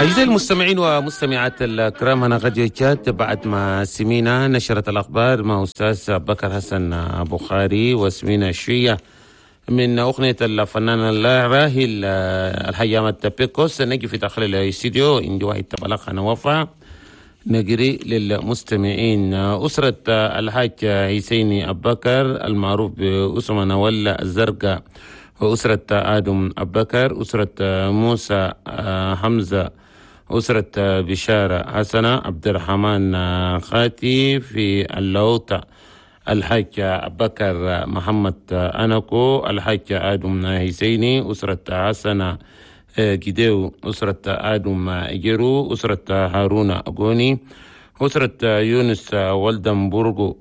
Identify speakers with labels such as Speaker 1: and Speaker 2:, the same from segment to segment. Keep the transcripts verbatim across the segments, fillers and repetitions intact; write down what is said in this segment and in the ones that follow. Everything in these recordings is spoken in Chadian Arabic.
Speaker 1: أعزائي المستمعين ومستمعات الكرام، هنا راديو تشاد. بعد ما سمينا نشرة الأخبار مع أستاذ بكر حسن بخاري، وسمينا شوية من أغنية الفنان الراحل الحاج أحمد بيكوس، نجي في داخل الاستديو عندي واحد بلاغ هنا وفاة نقري للمستمعين. أسرة الحاج حسيني أبكر المعروف بأسمة نوال الزرقاء، وأسرة آدم أبكر، أسرة موسى حمزة، أسرة بشارة حسنة، عبد الرحمن خاتي في اللوطة، الحاج بكر محمد أنكو، الحاج آدم حسيني، أسرة حسنة جديو، أسرة آدم جيرو، أسرة هارون أغوني، أسرة يونس ولدنبرغو،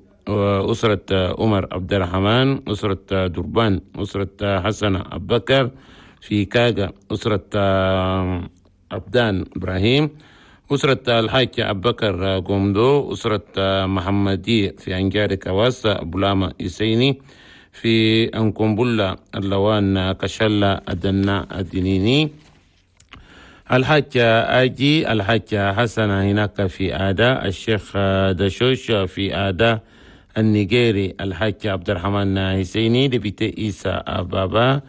Speaker 1: أسرة عمر عبد الرحمن، أسرة دربان، أسرة حسن أبكر في كاغا، أسرة عبدان إبراهيم، أسرة الحاج أبكر قومدو، أسرة محمدي في أنجاري كواس، بولاما إسيني في أنكمبولا اللوان كشلا أدنا الدنيني، الحاج آجي، الحاج حسن هناك في آدا، الشيخ دشوش في آدا النيجيري، الحاج عبد الرحمن حسيني député إيسا بابا،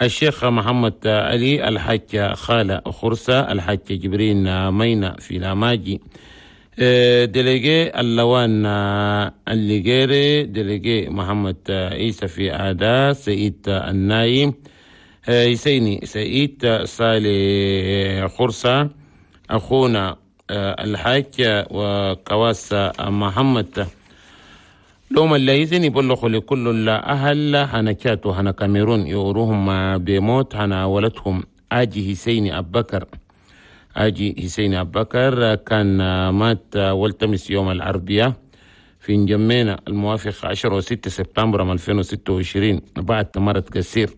Speaker 1: الشيخ محمد علي، الحاج خالة خرسة، الحاج جبرين مينا في لاماجي، délégué اللوان الليجيري، délégué محمد عيسى في آدا، سعيد النايم، حسيني سعيد صالح خرسة، أخونا الحاج وكواس محمد. لوم الليزن يبلغوا لكل الأهل هنا تشاد وهنا كاميرون يوروهم بموت هنا ولدهم آجي حسيني أبكر. آجي حسيني أبكر كان مات والتمس يوم الأربعاء في نجمينا الموافق عشرة وستة سبتمبر ألفين وستة وعشرين بعد مرض كثير.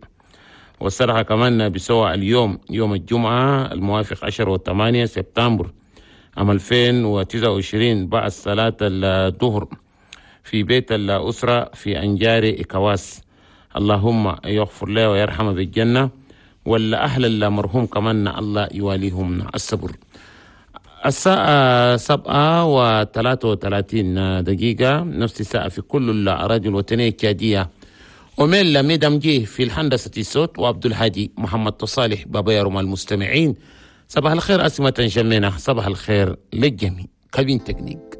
Speaker 1: والصراحة كمان بسوى اليوم يوم الجمعة الموافق عشرة وثمانية سبتمبر عام ألفين وتسعة وعشرين بعد صلاة الظهر في بيت الأسرة في أنجاري إكواس. اللهم يغفر له ويرحمه بالجنة، ولا أهل المرحوم كمان الله يواليهم الصبر. الساعة سبعة وثلاثة وثلاثين دقيقة، نفس الساعة في كل الأراضي الوطنية التشادية. وميل ميدام جي في الهندسة الصوت، وعبد الهادي محمد صالح بابا يرمى المستمعين. صباح الخير أسمة جمينة، صباح الخير للجميع. cabine technique.